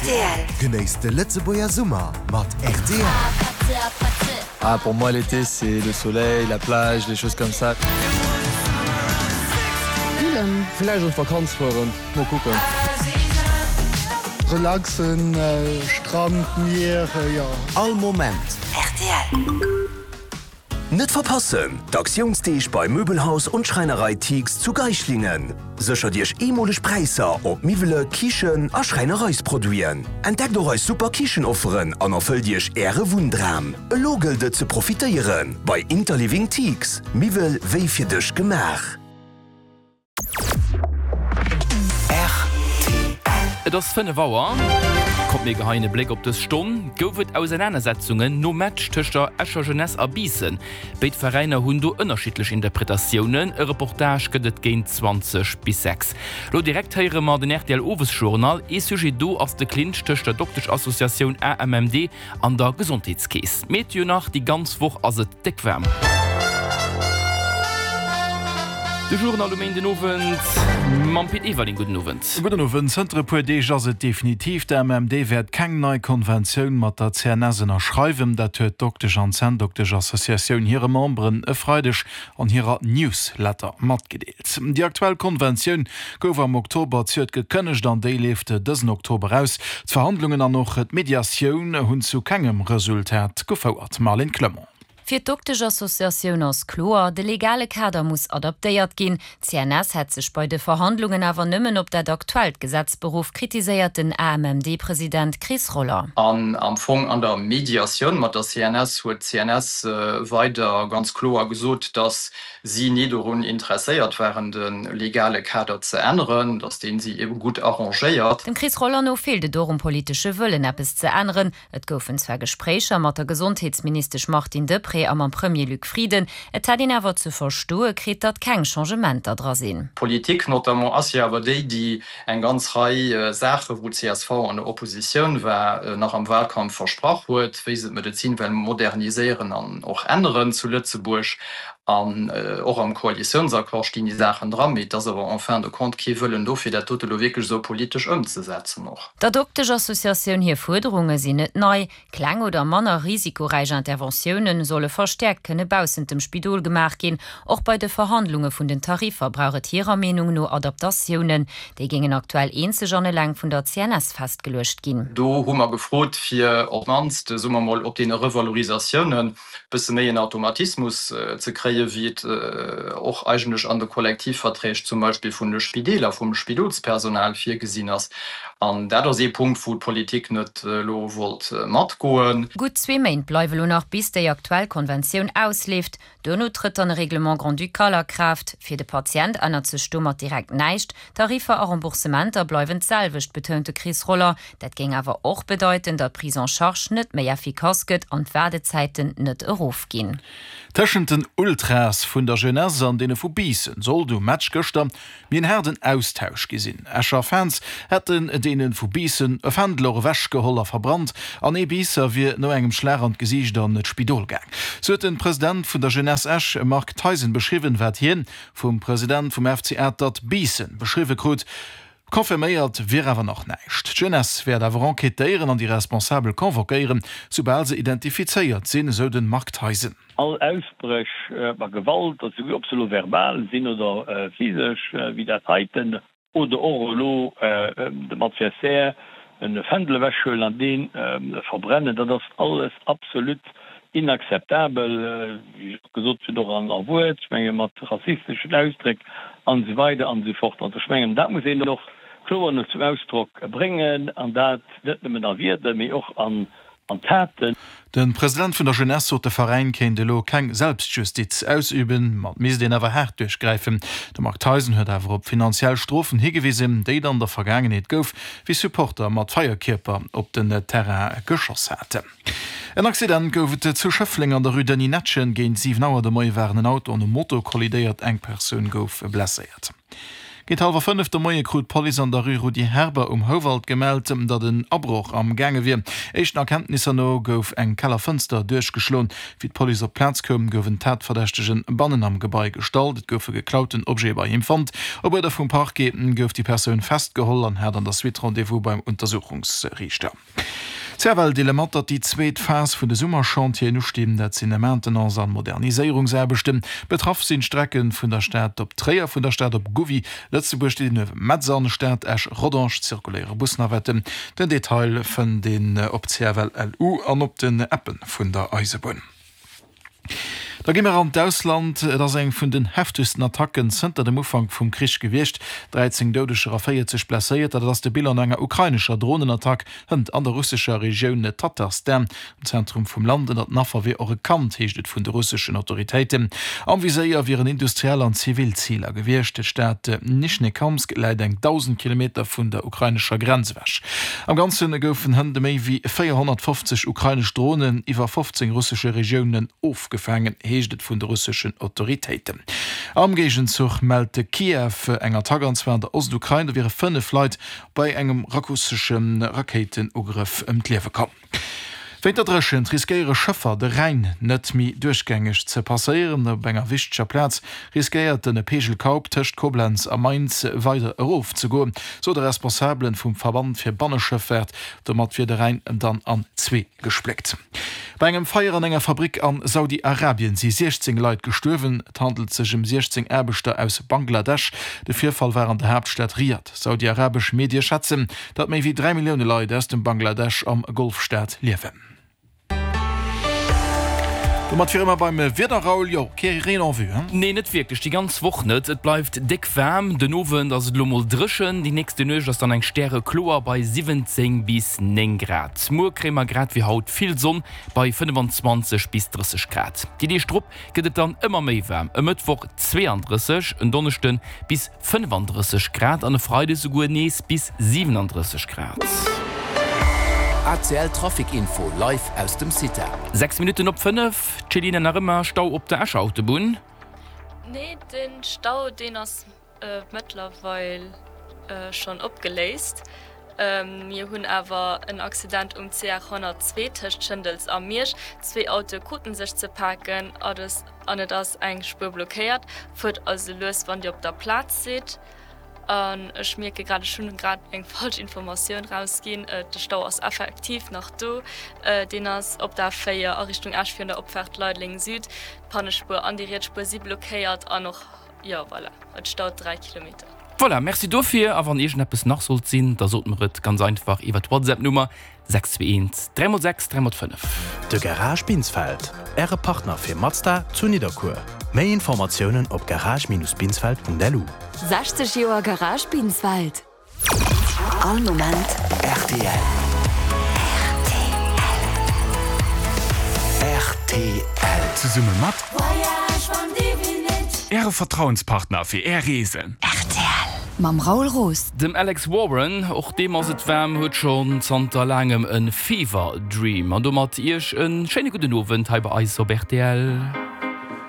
Rtl. Genéisst de Lëtzebuerger Summer mat rtl. Ah pour moi l'été c'est le soleil, la plage, les choses comme ça. Spillen. Villäicht an d'Vakanz fueren, mol kucken. Relaxen, Strand, Mier, jo. All Moment. Rtl. Net verpassen, D'Aktiounsdeeg bei Möbelhaus und Schreinerei Thiegs zu Geislingen. Séchert Iech eemoleg Präisser op Miwwele, Kichen a Schräinereisproduiten. Entdeckt och eis super Kichenofferen an erfëllt Iech Äre Wunndram. Elo gëllt et ze profitéieren bei Interliving Thiegs, Miwwel wéi fir dech gemaach. Et ass 5 Auer. Kommt mir geheien e Bléck op dës Stonn. Gouf et Ausernanersetzungen nom Match tëscht der Escher Jeunesse a Biissen. Béid Veräiner hunn do ënnerschiddlech Interpretatiounen. E Reportage gëtt et géint 20 bis 6. Lo direkt héiere mer den rtl Owesjournal. Ee Sujet do ass de Clinch tëscht der Dokteschassociatioun AMMD An der Gesondheetskeess. Meteo nach, Déi ganz Woch ass et déck waarm. De Journal um Méindenowend mam Pit Everling. Gudden Owend. Gudden Owend. Zënter e puer Deeg ass et definitiv, D'AMMD wäert keng nei Konventioun mat der CNS ënnerschreiwen. Dat huet d'Doktesch an Zänndoktesch-Associatioun hire Memberen e Freideg an hirer Newsletter matgedeelt. Déi aktuell Konventioun gouf am Oktober zejoert gekënnegt an déi leeft dësen Oktober aus. D'Verhandlungen an och d'Mediatioun hunn zu kengem Resultat gefouert. Marlène Clement. Fir d'Doktesch-Associatioun ass kloer, de legale Kader muss adaptéiert ginn. D'CNS hätt sech bei de Verhandlungen awer nëmmen op dat aktuellt Gesetz beruff, kritiséiert den AMMD-President Chris Roller. An am Fong an der Mediatioun mat der CNS huet d'CNS weider ganz kloer gesot, datt si ni dorun interesséiert waren, de legale Kader ze änneren, datt dee si ebe gutt arrangéiert. Dem Chris Roller no feelt et och um politesche Wëllen, eppes ze änneren. Et goufen zwar Gespréicher mat der Gesondheetsministesch Martine Deprez a mam Premier Luc Frieden, et hätt een awer ze verstoe kritt, datt keng Changementer dra sinn. D'Politik notamment ass jo awer déi, déi eng ganz Rei Saachen, wou csv an der Oppositioun war, nach am Wahlkampf versprach huet, wéi se d'Medezin well moderniséieren an och änneren zu Lëtzebuerg. An och am Koalitiounsaccord stinn déi Saachen dran, mee et ass awer en fin de compte kee Wëllen do, fir dat dote lo wierklech esou politesch ëmzesetzen och. Der Dokteschassociatioun hir Fuerderunge sinn net nei. Kleng oder manner risikoräich Interventioune solle verstäerkt kënne baussent dem Spidol gemaach ginn. Och bei de Verhandlunge vun den Tariffer brauch et hirer Meenung no Adaptatiounen. Déi géingen aktuell eenzeg an eleng vun der CNS festgeluecht ginn. Do hu mer gefrot, fir op d'mannst, soe mer mol, op deene Revalorisatiounen bësse méi en Automatismus ze kréien, wéi et och eigentlech an de Kollektivverträg zum Beispill vun de Spideeler, vum Spidolspersonal virgesinn ass. An dat ass ee Punkt, wou d'Politik net elo wollt matgoen. Gutt zwee Méint bleiwe lo nach, bis déi aktuell Konventioun ausleeft. Duerno trëtt dann e Règlement grand-ducal a Kraaft. Fir de Patient ännert sech domat direkt näischt. Tariffer a Remboursementer bleiwen d'selwecht, betount de Chris Roller. Dat géing awer och bedeiten, datt d'Prise en charge net méi effikass gëtt an d'Waardezäiten net erofginn. Tëschent den Ultras vun der Jeunesse an deene vu Biissen sollt um Match gëschter méi en haarden Austausch gi sinn. Escher Fans hätten deene vu Biissen e Fändel och ewech geholl a verbrannt an ee Biisser wier no engem Schlag an d'Gesiicht an d'Spidol gaang. Sou huet de President vun der Jeunesse Esch Marc Theisen beschriwwen, wat hien vum President vum FC Atert Biissen beschriwwe krut. Confirméiert wier awer nach näischt. D'Jeunesse wäert awer enquêtéieren an déi Responsabel convoquéieren, soubal se identifizéiert sinn, esou de Marc Theisen. All Ausbréch a Gewalt, also ob se elo verbal sinn oder physesch, wéi dat heiten, oder och elo dem Adversaire e Fändel ewechhuelen an dee verbrennen, dat ass alles absolut inakzeptabel, wéi ech och gesot hunn, och a Wuert, ech menge mat rassisteschen Ausdréck an esou weider an esou fort. Also ech mengen, dat muss een och kloer zum Ausdrock bréngen, an dat net nëmmen a Wierder, mee och an An Taten. De President vun der Jeunesse sot, de Veräin kéint elo keng Selbstjustiz ausüben, ma et misst een awer haart duerchgräifen. De Marc Theisen huet awer op finanziell Strofen higewisen, déi et an der Vergaangenheet gouf, wéi Supporter mat Feierkierper op den Terrain geschoss haten. En Accident gouf et zu Schëffleng an der Rue Denis Netschen. Géint 7 Auer de Moie waren en Auto an e Moto kollidéiert, eng Persoun gouf blesséiert. Géint hallwer 5 de Moie krut d'Police an der Rue Rudi Herber um Houwald gemellt, datt en Abroch am gaange wier. Éischten Erkenntnisser no gouf eng Kellerfënster duerchgeschloen. Wéi d'Police op d'Plaz koum, gouf en Tatverdächtegen bannen am Gebai gestallt. Et goufe geklauten Objete bei him fonnt. Op Uerder vum Parquet gouf déi Persoun festgeholl an hat an der Suite Rendez-vous beim Untersuchungsriichter. D'CFL deele mat, datt déi zweet Phas vun de Summerchantieren ustinn. Dat sinn Maintenance an Moderniséierungsaarbechten. Betraff sinn d'Strecke vun der Stad op Tréier, vun der Stad op Gouvy, Lëtzebuerg, déi den Metz an Stad Esch Rodange zirkuléiere Busnavetten. Den Detail fënnt een op CFL-LU an op den Appe vun der Eisebunn. Da gi mer an d'Ausland. Et ass eng vun den heftegsten Attacken zënter dem Ufank vum Krich gewiescht. 13 Doudeger a 40 Blesséierter, dat ass de Bilan no enger ukrainescher Dronenattack hënt an der russescher Regioun Tatarstan, am Zentrum vum Land. Ënnert den Affer wier och e Kand, heescht et vun de russeschen Autoritéiten. Am Viséier wieren industriell an zivil Ziler gewiescht. D'Stad Nischnekamsk läit eng 1.000 Kilometer vun der ukrainescher Grenz ewech. Am Ganze goufen hënt méi wéi 450 ukrainesch Dronen iwwer 15 russesche Regiounen ofgefaangen, heescht et vun de russeschen Autoritéiten. Am Géigenzuch mellt Kiew eng Attack, an zwar an der Ostukrain. Do wiere 5 Leit bei engem russesche Rakéitenugrëff ëm d'Liewe komm. Wéint der Dréchent riskéiere Schëffer de Rhäin net méi duerchgängeg ze passéieren. Op enger wichteger Plaz riskéiert de Pegel Kaup tëscht Koblenz a Mainz weider erof ze goen, sou de Responsabelen vum Verband fir Banneschëffaart. Domat wier de Rhäin dann an zwee gespléckt. Bei engem Feier an enger Fabrick an Saudi-Arabien si 16 Leit gestuerwen. Et handelt sech ëm 16 Aarbechter aus Bangladesch. De Virfall war an der Haaptstad Riad. Saudiarabesch Medie schätzen, datt méi wéi 3 Millioune Leit aus dem Bangladesch am Golfstaat liewen. Domat wiere mer beim Wieder, Raoul. Jo, kee Reen en vue, hein? Nee, net wierklech, déi ganz Woch net. Et bleift déck waarm. Den Owend ass et elo mol dréchen, déi nächste Nuecht ass dann eng stärekloer bei 17 bis 9 Grad. Muer kréie mer grad wéi haut vill Sonn bei 25 bis 30 Grad. Déi Deeg drop gëtt et dann ëmmer méi waarm, e Mëttwoch 32, en Donneschde bis 35 Grad an e Freide souguer nees bis 37 Grad. ACL Trafic Info live aus dem CITA. 6 Minutten op 5, Céline, nach ëmmer Stau op der Escher Autobunn? Nee, den Stau deen ass mëttlerweil schonn opgeléist. Mir hunn awer en Accident um CR 102 tëscht Schëndels a Miersch. Zwee Autoe kruten sech ze paken an et ass eng Spuer blockéiert. Fuert also lues wann Dir op der Plaz sidd. An ech mierke grad, ech hunn grad eng falsch Informatioun rausginn. De Stau ass effektiv nach do. Deen ass op der A4 a Richtung Esch virun der Opfaart Leideleng Süd. D'Pannespuer an déi riets Spuer si blockéiert an och, jo voilà, et staut 3 Kilometer. Voilà, merci dofir. A wann iergendeppes nach sollt sinn, da sot mer et ganz einfach iwwer d'WhatsApp-Nummer 621 3 x 6 3 x 5. De Garage Binsfeld, Äre Partner fir Mazda zu Nidderkuer. Méi Informatiounen op garage-binsfeld.lu. 60 Joer Garage Binsfeld. All Moment rtl. Rtl. Zesumme mat Äre Vertrauenspartner fir Är Reesen. Rtl mam Raoul Roos. Dem Alex Warren, och deem ass et waarm, huet schonn zanter laangem e Fever Dream. An domat Iech e schéine gudden Owend hei bei eis op rtl.